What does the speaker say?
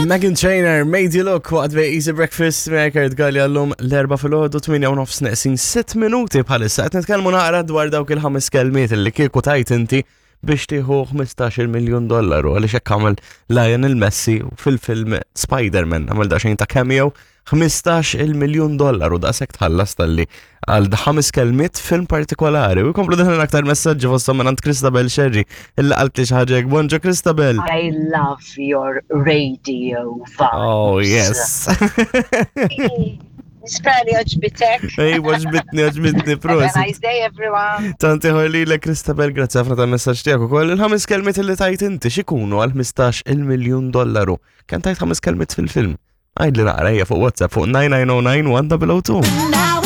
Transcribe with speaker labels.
Speaker 1: Megan Trainer, Made You Look, waqt bej Easy Breakfast, Kurt Galli għallum l-erba fil-ħodu 8 u nofs neqsin 6 minuti bħalissa. Qed nitkellmu naqra dwar dawk il-ħames kelmiet li kieku tajt inti biex tieħu 15 miljun dollaru għaliex hekk għamel Lionel Messi fil-film Spider-Man għamel daqsxejn ta' cameo 15 il-miljun dollaru daqshekk tħallas talli għal ħames kelmiet film partikolari. U jkomplu daħlin aktar messaġġi fosthom minn Christabel Sherry illi qalt li xi ħaġa hekk. Bonġo Christabel.
Speaker 2: I love your radio vibes.
Speaker 1: Oh yes.
Speaker 2: Nispera li għoġbitek.
Speaker 1: Ej, għoġbitni, għoġbitni,
Speaker 2: prosit. Have a nice day, everyone.
Speaker 1: Tanti ħor li Christabel, grazzi ħafna ta' messaġġ tiegħek ukoll. Il-ħames kelmiet li tajt inti x'ikunu għal 15 il-miljun dollaru. Kemm tajt ħames kelmiet fil-film? Għidli naqra hija fuq WhatsApp fuq 9909 1002.